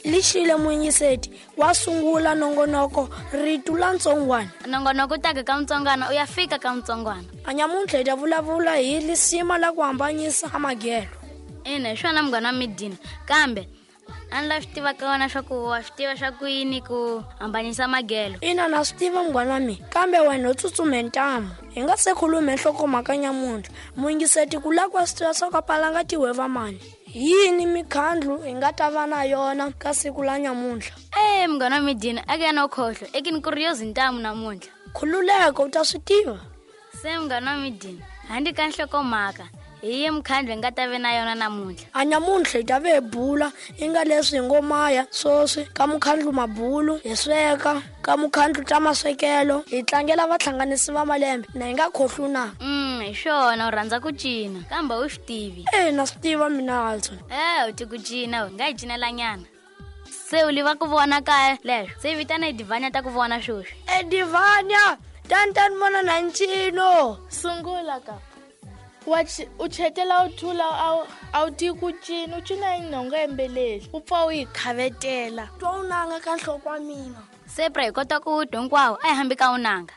Lixile muyingiseti wa sungula nongonoko ritu la ntsongwana. Nongonoko u taka ka mutsongwana u ya fika ka mutsongwana. A nyamuntlha hi ta vulavula hi lisima la ku hambanyisa a magelo. Ina, hi swona munghana wa midina kambe a ni la swi tiva ka wena swa ku wa swi tiva swa ku yini ku hambanyisa magelo. Ina, na swi tiva munghana wa mina, kambe wena u tsutsume ntamu. Hi nga se khulume nhlokomhaka nyamuntlha, muyingiseti ku lava ku wa swi tiva swa ku a palanga tihweva mani. Hi yini mikhandlu hi nga ta va na yona ka siku la nyamuntlha? E munghana wa midina, a ke ya no khohlwa ekini ku ri yo zintamu namuntlha. Khululeka, u ta swi tiva. Se munghana wa midina, handle ka nhlokomhaka, hi ye mukhandlu hi nga ta ve na yona namuntlha. A nyamuntlha hi ta ve hi bula i nga leswi hi ngo maya swoswi ka mukhandlu mabulu, hi sweka ka mukhandlu ta maswekelo, hi tlangela vahlanganisi va malembe na hi nga khohlwi na. Hi swona, u rhandza ku cina kambe u swi tivi. E na swi tiva mina Alton. E u ti ku cina, u nga hi cinelanyana. Se u liva ku vona kaya leswo, se vitana Edivhanya ta ku vona sweswi. Edivhanya, tani tani vona na ncino. Sungula ka. Wa u chetela u thula, a wu tivi ku cina, u cina hi nhonga yembeleli, u pfa u yi khavetela. Twa u nanga ka nhloko wa mina. Se pra hi kota ku twa hinkwawo, a hi hambi ka u nanga.